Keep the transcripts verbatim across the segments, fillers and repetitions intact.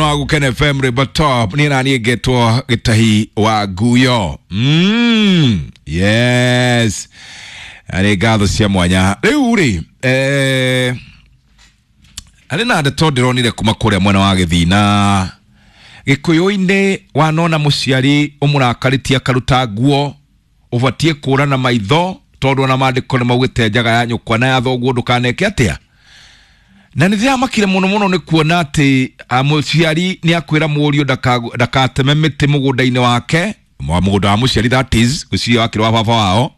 Wa Gukene F M River Top niĩ na niĩ ngetwo Gĩtahi wa Nguyo. Mm, yes, nĩ ngatho cia mwanya. Rĩu rĩ, eh, harĩ na ndeto ndĩronire kuma kũrĩa mwena wa Gĩthina Gĩkũyũ-inĩ. Wanona mũciari ũmũrakarĩtie akaruta nguo, ũbatiĩ kũũrana maitho, tondũ ona maandĩko nĩ maugĩte njaga ya nyũkwa na ya thoguo ndũkaneke atĩa. Na nĩ ndĩramakire mũno mũno nĩ kuona atĩ mũciari nĩ akwĩra mũriũ ndakateme mĩtĩ mũgũnda-inĩ wake, mũgũnda wa mũciari, that is ũcio wakĩrĩ wa baba wao,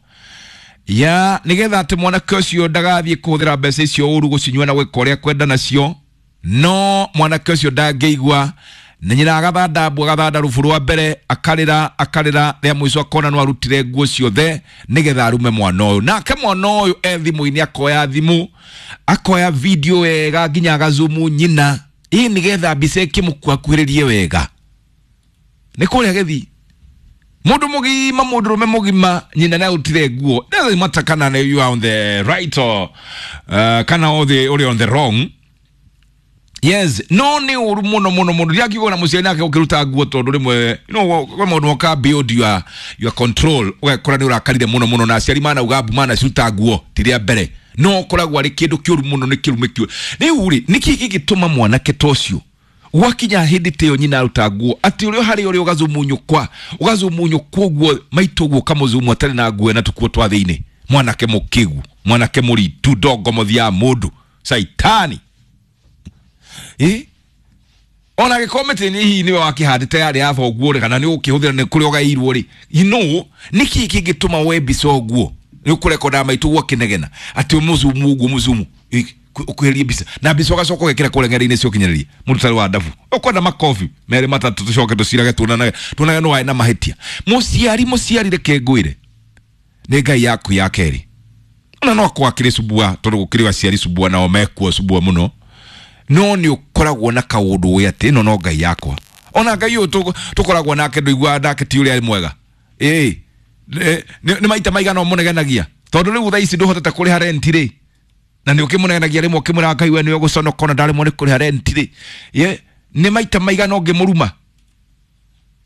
ya nĩgetha atĩ mwanake ũcio ndagathiĩ kũhũthĩra mbeca icio ũru, gũcinyua na gwĩka ũrĩa kwenda nacio. No mwanake ũcio ndangĩigua, na nyina agathanda mbu, agathanda rubu rwa mbere, akarĩra akarĩra, rĩa mũico akona no arutire nguo ciothe nĩgetha arume mwana ũyũ. Nake mwana ũyũ e thimũ-inĩ, akoya thimũ, akoya video wega nginya agazumu nyina, ĩ nĩgetha mbica ĩkĩmũkuhakuhĩrĩrie wega. Nĩ kũrĩa gĩthii mundu mugima, mundurume mugima, nyina nĩ arutire nguo. Doesn't matter kana you are on the right or uh, kana uri on the wrong. Yes, no nĩ ũru mũno mũno mũno. Ndiakiuga na mũciari nake ũkĩruta nguo, tondũ rĩmwe, you know, kwĩ maũndũ moka beyond your, your control, ũgakora nĩ ũrakarire mũno mũno, na aciari manauga mbu manaciruta nguo ti rĩa mbere, no ũkoragwo arĩ kĩndũ kĩũru mũno, nĩ kĩrume kĩũru. Rĩu rĩ, nĩkĩ gĩgĩtũma mwanake ta ũcio gwakinya hĩndĩ ta ĩyo nyina aruta nguo, atĩ ũrĩa harĩ ũrĩa ũgazumu nyũkwa, ũgazumu nyũkwa ũguo maitũ ũguo, ũkamũzumu atarĩ na nguo na tũkuo twa thĩinĩ? Mwanake mũkĩgu, mwanake mũritu, ndongo mũthia mũndũ caitani. Eh, ona gĩkorwo mĩtĩ nĩ hihi nĩwe wakĩhandĩte yarĩ ya thoguo rĩ, kana nĩ ũkĩhũthĩra nĩ kũrĩa ũgairwo rĩ, you know, nĩkĩ kĩngĩtũma woe mbica ũguo? Nĩ ũkũrekonda maitũ ũguo akĩnegena atĩ ũmũzumu ũguo, mũzumu ũkuhĩrĩrie mbica, na mbica ũgacoka ũgekĩra kũrĩa ng'enda-inĩ cia ũkinyanĩria. Mũndũ ũtarĩ wa ndabu ũkwenda makobi merĩ matatũ, tũcoke tũcirage, tuonanage tuonage nĩ warĩ na mahĩtia. Mũciari, mũciari, reke ngwĩre, nĩ Ngai yaku ya kerĩ. Ona no akorwo akĩrĩ cubua, tondũ gũkĩrĩ aciari cubua nao mekuo cubua mũno, no nĩ ũkoragwo na kaũndũ wĩ atĩ ĩno no Ngai yakwa. Ona Ngai ũyũ tũkoragwo nake ndũiguaga nake ti ũrĩa arĩ mwega. Ĩĩ, nĩ maita maigana ũmũnegenagia, tondũ rĩu thaa ici ndũhotete kũrĩha rent rĩ, na nĩ ũkĩmũnegenagia rĩmwe ũkĩmwĩra Ngai we nĩwe ũgũconoka ona ndaremwo nĩ kũrĩha rent rĩ. Ye, nĩ maita maigana ũngĩmũruma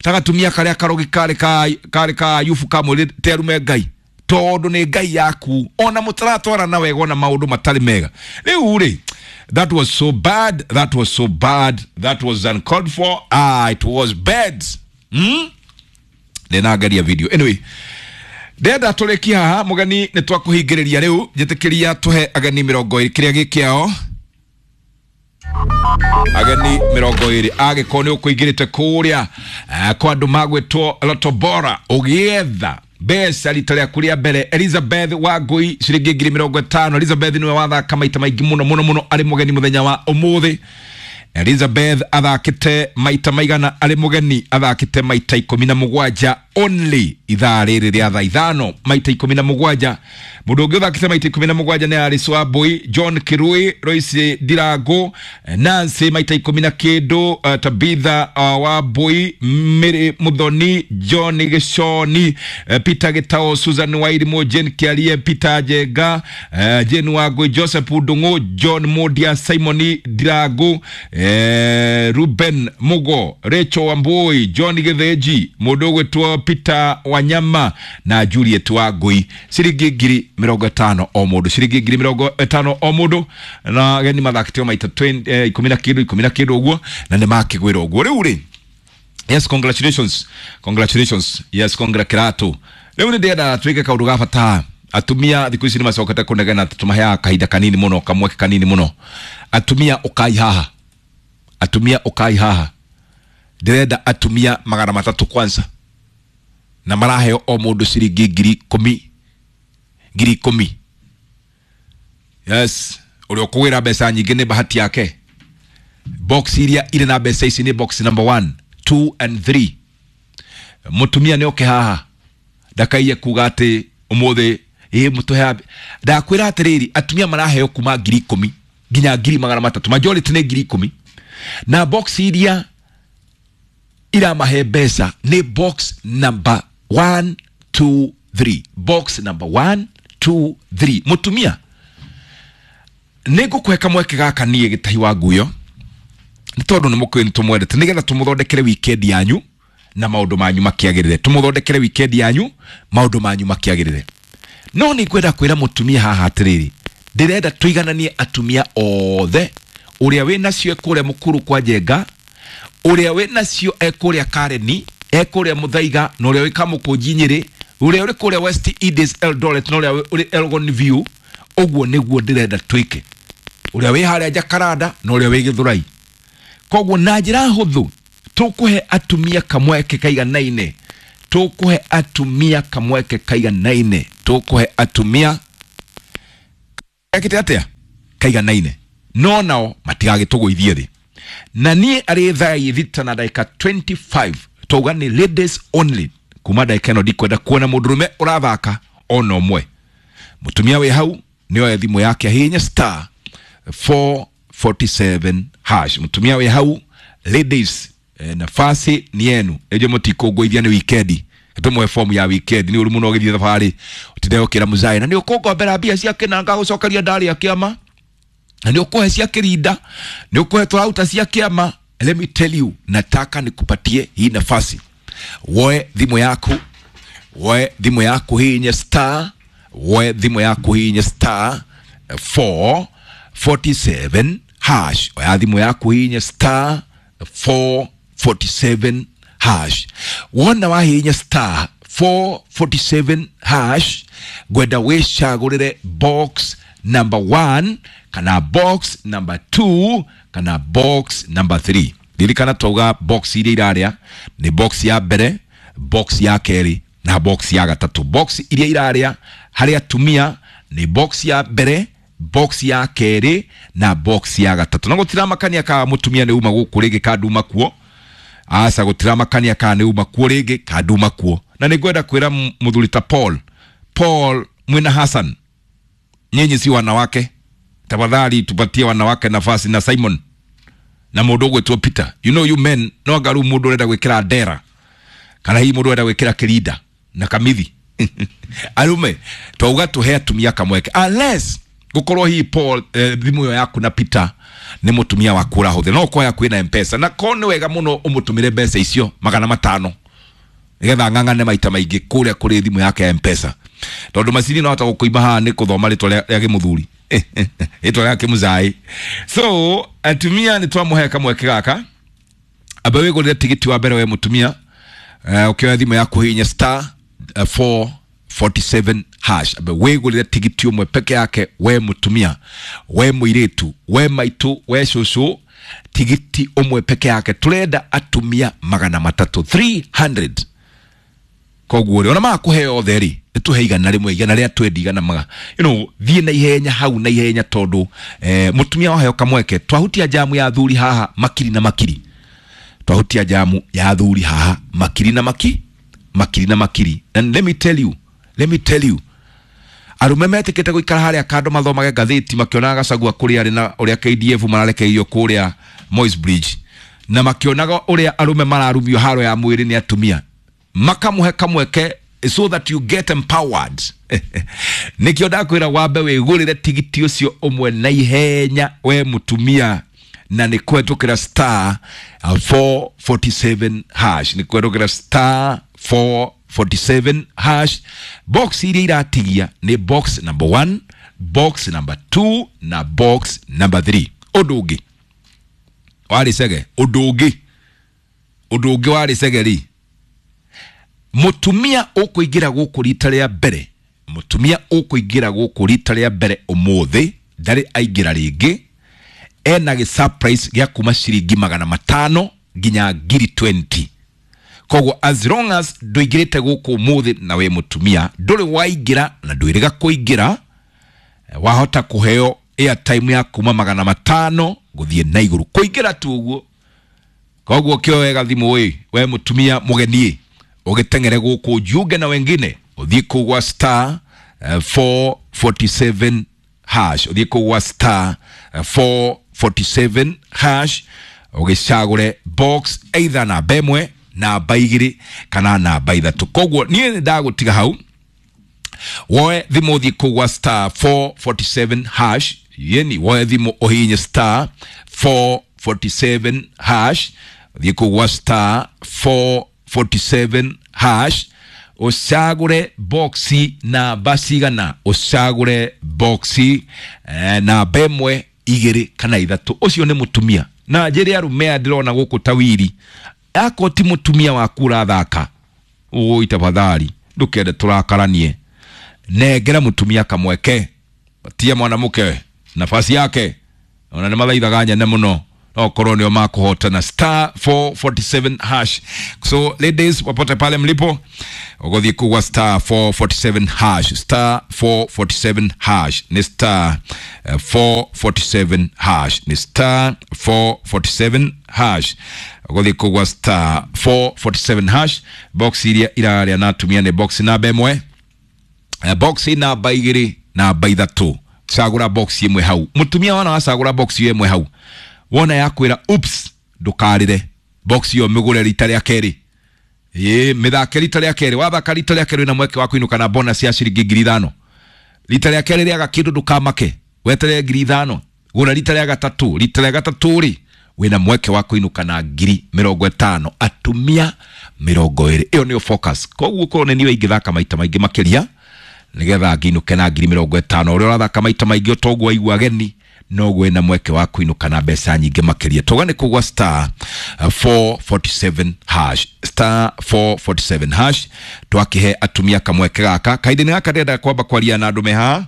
ta gatumia karĩa karogi karĩ ka karĩ ka Ayubu kamwĩrĩte arume Ngai, tondũ nĩ Ngai yaku, ona mũtaratwarana wega, ona maũndũ matarĩ mega. Rĩu rĩ, that was so bad, that was so bad, that was uncalled for. Ah, it was bad. Hmm? Ndĩnageria video. Anyway, ndĩrenda tũrĩkie haha mũgeni, nĩ twakũhingĩrĩria rĩu. Njĩtĩkĩria tũhe ageni mĩrongo ĩrĩ kĩrĩa gĩ kĩao, ageni mĩrongo ĩrĩ. Agĩkorwo nĩ ũkũingĩrĩte kũrĩa kwa andũ magwĩtwo Loto Bora ũgĩetha mbeca rita rĩaku rĩa mbere, Elizabeth Wangui ciringi ngiri mĩrongo ĩtano. Elizabeth nĩwe wathaka maita maingĩ mũno mũno mũno arĩ mũgeni mũthenya wa ũmũthĩ. Elizabeth athakĩte maita maigana arĩ mũgeni? Athakĩte maita ikũmi na mũgwanja only ithaa rĩrĩ rĩa thaa ithano, maita ikũmi na mũgwanja. Mũndũ ũngĩ ũthakĩte maita ikũmi na mũgwanja nĩ Alice Wambui, John Kirui, Royce Ndirangu, Nancy maita ikũmi na kĩndũ, uh, Tabitha uh, Wambui, Mary Muthoni, John Gĩconi, uh, Peter Gĩtao, Susan Wairimu, Jane Kĩarie, Peter Njenga, uh, Jane Wangui, Joseph Ndung'u, John Mudia, Simon Ndirangu, eh, Ruben Mugo, Rachel Wambui, John Gĩthĩnji, mũndũ ũgwĩtwo Peter Wanyama na Juliet Wangui. Ciringi ngiri mĩrongo ĩtano o mũndũ, ciringi ngiri mĩrongo ĩtano o mũndũ. Na ageni mathakĩte maita eh, ikũmi na kĩndũ, ikũmi na kĩndũ ũguo, na nĩ makĩgwĩra ũguo. Rĩu rĩ, yes, congratulations, congratulations, yes, congratulato. Rĩu nĩ ndĩrenda twĩke kaũndũ ga bata. Atumia thikũ ici nĩ macokete kũnegena, tũmaheaga kahinda kanini mũno, kamweke kanini mũno. Atumia ũkai haha, atumia ũkai haha. Ndĩrenda atumia magana matatũ kwanza, na maraheo o mũndũ ciringi ngiri ikũmi, ngiri ikũmi. Yes, ũrĩa ũkũgĩra mbeca nyingĩ nĩ bahati yake. Box iria irĩ na mbeca ici nĩ box number one, two and three. Mũtumia nĩ oke haha, ndakaiye kuga atĩ ũmũthĩ ĩ mũtũhe. Ndakwĩra atĩrĩrĩ, atumia maraheo kuma ngiri ikũmi nginya ngiri magana matatũ, majority nĩ ngiri ikũmi. Na box iria iramahe mbeca nĩ box number one, two, three, box number one, two, three. Mũtumia, nĩ ngũkũhe kamweke gaka niĩ Gĩtahi wa Nguyo. Nĩ tondũ nĩ mũkũĩ nĩ tũmwendete, nĩgetha tũmũthondekere weekend yanyu na maũndũ manyu makĩagĩrĩre. Tũmũthondekere weekend yanyu, maũndũ manyu makĩagĩrĩre. No nĩ ngwenda kwĩra mũtumia haha atĩrĩrĩ, ndĩrenda tũigananie atumia othe, ũrĩa wĩ nacio e kũrĩa Mũkuru kwa Njenga, ũrĩa wĩ nacio e kũrĩa Kareni, e kũrĩa Mũthaiga, na ũrĩa wĩ Kamũkũnji Nyĩrĩ, ũrĩa ũrĩ kũrĩa West Indies Eldoret, na ũrĩa ũrĩ Elgon View. Ũguo nĩguo ndĩrenda twĩke, ũrĩa wĩ harĩa Jakaranda na ũrĩa wĩ Gĩthũrai. Koguo na njĩra hũthũ tũkũhe atumia kamweke kaiganaine, tũkũhe atumia kamweke kaiganaine, tũkũhe atumia ekĩte atĩa kaiganaine, no nao matigagĩtũgũithie thĩ. Na niĩ arĩ thaa thita na ndagĩka mĩrongo ĩrĩ na ithano twauga nĩ ladies only. Kuma ndagĩka ĩno ndikwenda kuona mũndũrũme ũrathaka ona ũmwe. Mũtumia wĩ hau nĩoe thimũ yake ahihinye star four forty-seven hash. Mũtumia wĩ hau, ladies, eh, nafasi ni yenu. Ĩjo mũtikũngũithia nĩ weekend, tũmũhe fomu ya weekend. Nĩ ũru mũno ũgĩthiĩ thabarĩ ũtinde ũkĩra mũzaĩ na nĩ ũkũngombera mbia cia kĩnanga gũcokeria ndarĩa kĩama, na nĩ ũkũhe cia kĩrinda, nĩ ũkũhe tũrauta cia kĩama. Let me tell you, nataka nikupatie hii nafasi. Woe thimũ yaku, woe thimũ yaku hihinye star, woe thimũ yaku hihinye star four forty-seven hash. Oya thimũ yaku hihinye star four forty-seven hash. Wona wahihinya star four forty-seven hash, ngwenda wĩcagũrĩre box number one kana box number two kana box number three. Ririkana twauga box iria irarĩa nĩ box ya mbere, box ya kerĩ na box ya gatatũ. Box iria irarĩa harĩ atumia nĩ box ya mbere, box ya kerĩ na box ya gatatũ. Na gũtiramakania ka mũtumia nĩ uma gũkũ rĩngĩ ka nduma kuo, aca, gũtiramakania kana nĩ uma kuo rĩngĩ ka nduma kuo. Na nĩ ngwenda kwĩra mũthuri ta Paul, Paul mwĩna Hassan, nyinyi si wanawake, tafadhali tupatie wanawake nafasi. Na Simon na mũndũ ũgwĩtwo Peter, you know you men, no anga rĩu mũndũ ũrenda gwĩkĩra ndera kana hihi mũndũ ũrenda gwĩkĩra kĩrinda na kamithi. Arume twauga tũhe atumia kamweke, unless gũkorwo hihi Paul, eh, thimũ ĩyo yaku na Peter nĩ mũtumia waku ũrahũthĩra, no ũkorwo yaku ĩna M-Pesa, na ko nĩ wega mũno ũmũtũmĩre mbeca icio magana matano nigetha ng'ang'ane maita maingĩ kũrĩa kũrĩ thimũ yake ya M-Pesa, tondũ macini no hota gũkũima haha nĩ kũthoma rĩtwa rĩa rĩa gĩmũthuri, rĩtwa rĩa kĩmũzaĩ. So atumia nĩ twamũhe kamweke gaka. Amba wĩgũrĩre tigiti wa mbere we mũtumia, uh, ũkĩoya thimũ yaku hihinya star uh, four forty-seven hash. Amba wĩgũrĩre tigiti ũmwe peke yake, we mũtumia, we mũirĩtu, we maitũ, we cũcũ, tigiti ũmwe peke yake. Tũrenda atumia magana matatũ, three hundred. Koguo rĩ, ona makũhe othe rĩ, nĩtũhe igana rĩmwe, igana rĩa twendi, igana maga you know, thiĩ na ihenya hau na ihenya, tondũ eh, mũtumia waheo kamweke, twahutia jamu ya athuri haha makiri na makiri, twahutia jamu ya athuri haha makiri na maki makiri na makiri. And let me tell you, let me tell you, arume metĩkĩte gũikara harĩa kando mathomage ngathĩti makĩonaga Gachagua kũrĩa arĩ na ũrĩa K D F mararekereirio kũrĩa Moi's Bridge, na makĩonaga ũrĩa arume mararumio haro ya mwĩrĩ nĩ atumia, makamũhe kamweke so that you get empowered. Nĩkĩo ndakwĩra wambe wĩgũrĩre tigiti ũcio ũmwe na ihenya we mũtumia, na nĩ kũhetũkĩra star uh, four forty-seven hash, nĩ kũhetũkĩra star four forty-seven hash. Box iria iratigia nĩ box number one, box number two na box number three. Ũndũ ũngĩ warĩ cege, ũndũ ũngĩ, ũndũ ũngĩ warĩ cege rĩ, mũtumia ũkũingĩra gũkũ rita rĩa mbere, mũtumia ũkũingĩra gũkũ rita rĩa mbere ũmũthĩ, ndarĩ aingĩra rĩngĩ, ena gĩ surprise gĩa kuma ciringi magana matano nginya ngiri mĩrongo ĩrĩ. Koguo as long as ndũingĩrĩte gũkũ ũmũthĩ na wĩ mũtumia ndũrĩ waingĩra na ndwĩrĩga kũingĩra, wahota kũheo airtime ya kuma magana matano gũthiĩ na igũrũ kũingĩra tu ũguo. Koguo kĩo wega thimũ ĩ, we mũtumia mũgeni ũgĩteng'ere gũkũ jiunge na wengine, ũthiĩ kũu gwa star uh, four forty-seven hash, ũthiĩ kũu gwa star uh, four forty-seven hash, ũgĩcagũre box either namba ĩmwe, namba igĩrĩ kana namba ithatũ. Koguo niĩ nĩ ndagũtiga hau, woe thimũ ũthiĩ kũu gwa star four forty-seven hash, yeni woe thimũ ũhihinye star four forty-seven forty-seven hash, thiĩ kũu gwa star four forty-seven hash, ũcagũre boxi namba cigana, ũcagũre boxi eh, namba ĩmwe igĩrĩ kana ithatũ. Ũcio nĩ mũtumia na njĩre arũme aya ndĩrona gũkũ ta wiri, akorwo ti mũtumia waku ũrathaka, ũi tafadhali ndũkende tũrakaranie, nengera mũtumia kamweke, patia mwanamke nafasi yake, ona nĩ mathaithaga nyene mũno no korwo nĩo makũhotana. Star four forty-seven hash. So ladies, popote pale mlipo, ũgũthiĩ kugwa star four forty-seven hash, star four forty-seven hash ni star uh, four forty-seven hash ni star four forty-seven hash, ũgũthiĩ kugwa star four forty-seven hash. Box iria iraria na atumia nĩ box namba ĩmwe, box namba igĩrĩ, namba ithatũ. Cagũra box ĩmwe hau, mũtumia wana wacagũra box ĩmwe hau, wona yakwĩra oops, ndũkarĩre, box ĩyo mĩgũre rita rĩa kerĩ, ĩĩ mĩthake rita rĩa kerĩ, wathaka rita rĩa kerĩ wĩna mweke wa kũinũka na bonus ya ciringi ngiri ithano. Rita rĩa kerĩ rĩaga kĩndũ ndũkamake, weterere ngiri ithano, gũra rita rĩa gatatũ, rita rĩa gatatũ rĩ wĩna mweke wa kũinũka na ngiri mĩrongo ĩtano, atumia mĩrongo ĩrĩ. Ĩyo nĩyo focus. Koguo korwo nĩ niĩ ingĩthaka maita maingĩ makĩria nĩgetha nginũke na ngiri mĩrongo ĩtano, ũrĩa ũrathaka maita maingĩ ũtoguo waigua ageni noguo wĩna mweke wa kũinũka na mbeca nyingĩ makĩria. Tũga nĩ kũgwa star four forty-seven hash, star four forty-seven hash, twakĩhe atumia kamweke gaka. Kahinda-inĩ gaka ndĩrenda kwamba kwaria na andũ me haha,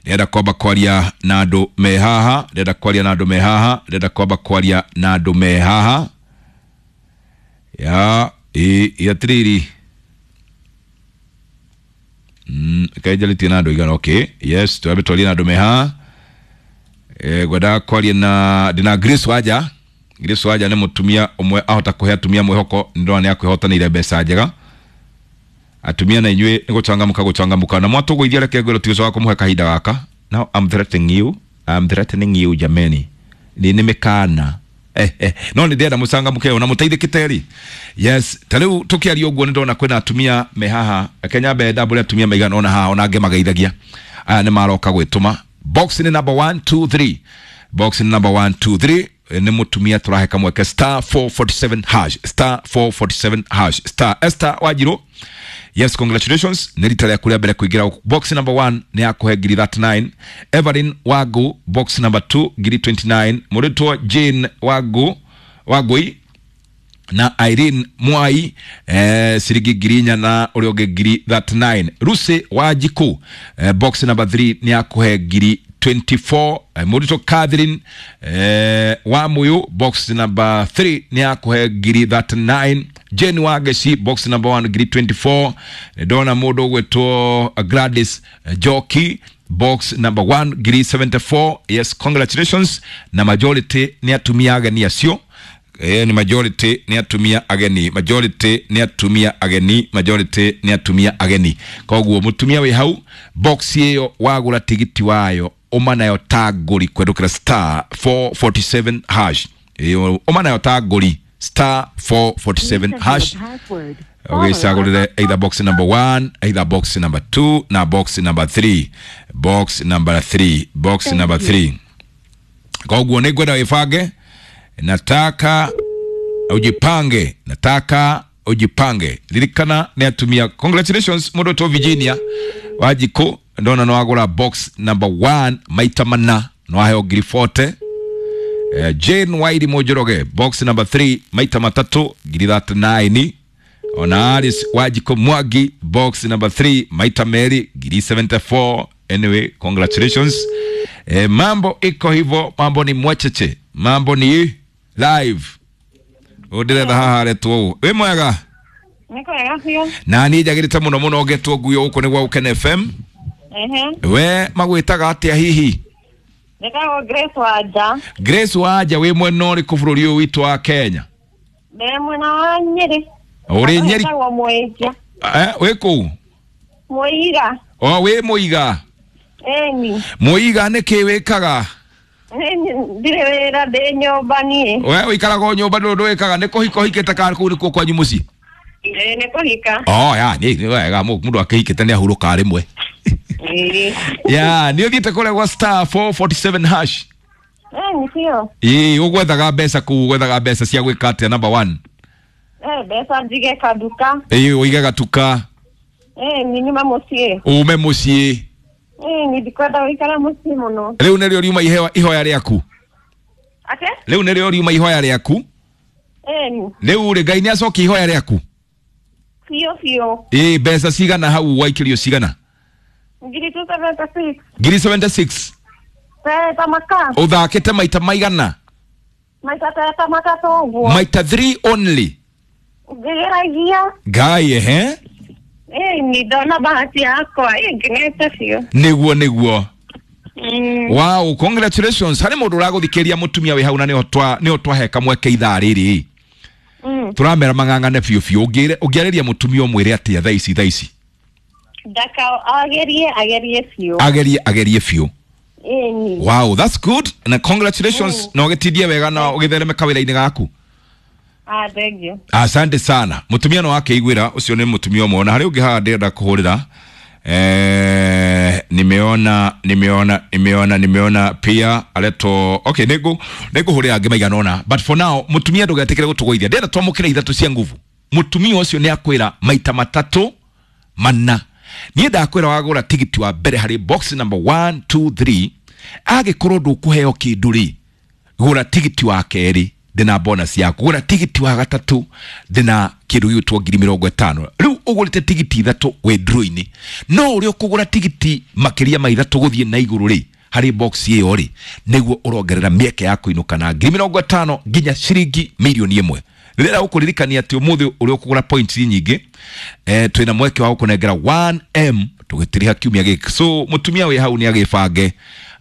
ndĩrenda kwamba kwaria na andũ me haha, ndĩrenda kwaria na andũ me haha, ndĩrenda kwamba kwaria na andũ me haha ya ĩ atĩrĩrĩ, mm kainjarĩtie na andũ igana. Okay, yes, twambe twarie na andũ me haha. Eh, ngwendaga kwaria na ndĩna Grace Wanja. Grace Wanja nĩ mũtumia ũmwe ahota kũhe atumia mwĩhoko, nĩ ndĩrona nĩ akwĩhotanĩire mbeca njega. Atumia na inyuĩ nĩ gũcangamũka gũcangamũka, na mwatũgũithia reke ngwĩre tũgĩcoka kũmũhe kahinda gaka. Now I'm threatening you, I'm threatening you jameni, nĩ nĩ mĩkana eh, eh. No nĩ ndĩrenda mũcangamũke ona mũteithĩkĩte rĩ. Yes, ta rĩu tũkĩaria ũguo nĩ ndona kwĩna atumia me haha. Reke nyambe ndambũre atumia maigana ona haha, ona angĩ mageithagia. Aya nĩ maroka gwĩtũma. Box nĩ number one two three, box nĩ number one two three, nĩ mũtumia tũrahe kamweke star four forty-seven hash, star four forty-seven hash, star Esther Wanjirũ. Yes, congratulations, nĩ rita rĩaku rĩa mbere kũingĩra. Box number one nĩ yakũhe ngiri thirty-nine. Evelyn Wangu, box number two ngiri twenty-nine. Mũrĩtwo Jane Wangu Wangui na Irene Mwai eh, ciringi ngiri inya na ũrĩa ũngĩ ngiri thirty-nine. Lucy Wanjikũ, eh, box number three nĩ yakũhe ngiri twenty-four. Eh, mũrĩtwo Catherine eh, Wamuyu, box number three nĩ yakũhe ngiri thirty-nine. Jane Wangeci, box number one ngiri twenty-four. Ndona mũndũ ũgwĩtwo Gladys Njoki, box number one ngiri seventy-four. Yes, congratulations. Na majority nĩ atumia ageni acio. Eh, ni majority nĩ atumia ageni, majority nĩ atumia ageni, majority nĩ atumia ageni. Koguo mũtumia wĩ hau, box ĩyo wagũra tigiti wayo ũma nayo ta ngũri kwendũkĩra star four forty-seven hash, ũma nayo ta ngũri star four forty-seven hash, ũgĩcagũrĩre either box number one, either box number two na box number three, box number three, box number three. Koguo nĩ ngwenda wĩbange, nataka ujipange, nataka ujipange. Ririkana nĩ atumia. Congratulations mũndũ to Virginia Wanjikũ, ndona no agũra box number one maita mana no aheo ngiri forty. Eh, Jane Wairi Mũnjoroge, box number three maita matatũ ngiri thirty-nine. Ona Alice Wanjikũ Mwangi, box number three maita merĩ ngiri seventy-four. Anyway, congratulations. Eh, mambo iko hivyo, mambo ni mwecheche, mambo ni live. Ũndĩretha haha aretwo ũũ. Wĩ mwega? Nĩ kwega biũ. Na niĩ njagĩrĩte mũno mũno ngetwo nguo gũkũ nĩ gwa Gũkena F M. Ehe. We magwĩtaga atĩa hihi? Njĩtagwo Grace Wanja. Grace Wanja, wĩ mwena ũrĩkũ bũrũri ũyũ witũ wa Kenya? Ndĩ mwena wa Nyĩrĩ. Ũrĩ Nyeri? Njĩtagwo Mũiga. Eh, wĩ kũu? Mũiga. O, wĩ Mũiga? Ĩni. Mũiga nĩ kĩ wĩkaga? Ndirĩ wĩra, ndĩ nyũmba niĩ. We ũikaraga o nyũmba, ndũrĩ ũndũ wĩkaga? Nĩ kũhika ũhikĩte kana kũu nĩkuo kwanyu mũciĩ? Ĩĩ, nĩ kũhika. Oh, ya, nĩ nĩ wega, mũndũ akĩhikĩte nĩ ahurũkaga rĩmwe. Ĩĩ. Ya, nĩ ũthiĩte kũrĩa gwa star four forty-seven hash? Eh ni biũ. Ĩĩ, ũgwethaga mbeca kũu, ũgwethaga mbeca cia gwĩka atĩa number one? Eh mbeca njige kaduka. Ĩĩ, ũige gatuka. Eh ni nyuma mũciĩ. Ume mũciĩ. Eh ni ndikwenda gũikara mũciĩ mũno. Rĩu nĩrĩo riuma ihewa ihoya rĩaku? Ate? Rĩu nĩrĩo riuma ihoya rĩaku? Eh ni. Rĩu rĩ, Ngai nĩacokia ihoya rĩaku? Biũ biũ. Ĩĩ, mbeca cigana hau waikĩrio cigana? Ngiri two seventy six. Ngiri seventy six. Teta maka. Ũthakĩte maita maigana? Maita teta matatũ ũguo. Maita three only. Ngĩgeragia. Ngai ehe. Eh ni ndona bahati yakwa. Eh ngenete biũ. Nĩguo nĩguo. Mm. Wow, congratulations. Harĩ mũndũ ũragũthikĩria mũtumia wĩ hau na nĩho twa nĩho twahe kamweke ithaa rĩrĩ. Mm. Tũramera mang'ang'ane biũ biũ. Ũngĩre ũngĩarĩria mũtumia ũmwĩre atĩa thaa ici thaa ici? Ndaka agerie agerie biũ. Agerie agerie biũ. Eh ni. Wow, that's good. Na congratulations. Mm. Na ũgĩtindie wega na ũgĩthereme kawĩra-inĩ gaku. Ah, thank you. Asante sana. Mũtumia no akeiguĩra, ũcio nĩ mũtumia ũmwe. Na harĩ ũngĩ haha ndĩrenda kũhũrĩra. Eh, nimeona nimeona nimeona nimeona pia aletwo. Okay, nĩngũ nĩngũhũrĩra angĩ maigana ũna. But for now, mũtumia ndũgetĩkĩre gũtũgũithia. Ndĩrenda twamũkĩre ithatũ cia nguvu. Mũtumia ũcio nĩ akwĩra maita matatũ mana. Niĩ ndakwĩra wagũra tigiti wa mbere harĩ box number one two three, angĩkorwo ndũkũheo kĩndũ rĩ, gũra tigiti wa kerĩ ndĩna bonus yaku, gũra tigiti wa gatatũ ndĩna kĩndũ gĩgwĩtwo ngiri mĩrongo ĩtano. Rĩu ũgũrĩte tigiti ithatũ wĩ draw-inĩ, no ũrĩa ũkũgũra tigiti makĩria ma ithatũ gũthiĩ na igũrũ rĩ, harĩ box ĩyo rĩ, nĩguo ũrongerera mĩeke ya kũinũka na ngiri mĩrongo ĩtano nginya ciringi mirioni ĩmwe. Rĩrĩa ũkũririkania atĩ ũmũthĩ ũrĩa ũkũgũra points nyingĩ, eh, twĩna mweke wa gũkũnengera one M tũgĩtiriha kiumia gĩkĩ. So mũtumia wĩ hau nĩ agĩbange,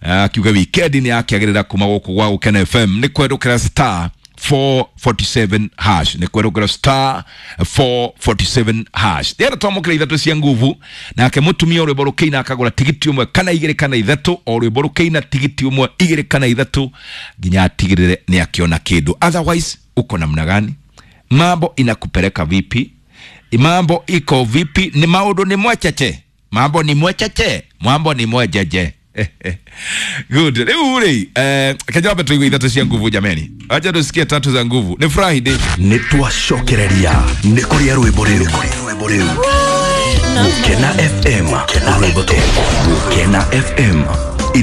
akiuga weekend nĩ akĩagĩrĩra kuma gũkũ gwa Gũkena F M nĩ kwerũkĩra star four forty-seven hash, nĩ kwerũkĩra star four forty-seven hash. Ndĩrenda twamũkĩra ithatũ cia nguvu, nake mũtumia ũrwĩmbo rũkĩina akagũra tigiti ũmwe kana igĩrĩ kana ithatũ, o rwĩmbo rũkĩina tigiti ũmwe igĩrĩ kana ithatũ nginya atigĩrĩre nĩ akĩona kĩndũ. Otherwise uko namna gani? Mambo inakupeleka vipi? Mambo iko vipi? Ni maũndũ ni mwecheche. Mambo ni mwecheche. Mambo ni mwejeje. Good. Rĩu rĩ, eh, kajambe tuigue ithatũ cia nguvu jameni. Acha tusikie tatu za nguvu. Ni Friday. Nĩ twacokereria. Nĩ kũrĩa rwĩmbo rĩu. Gũkena F M. Rwĩmbo tũ. Gũkena F M.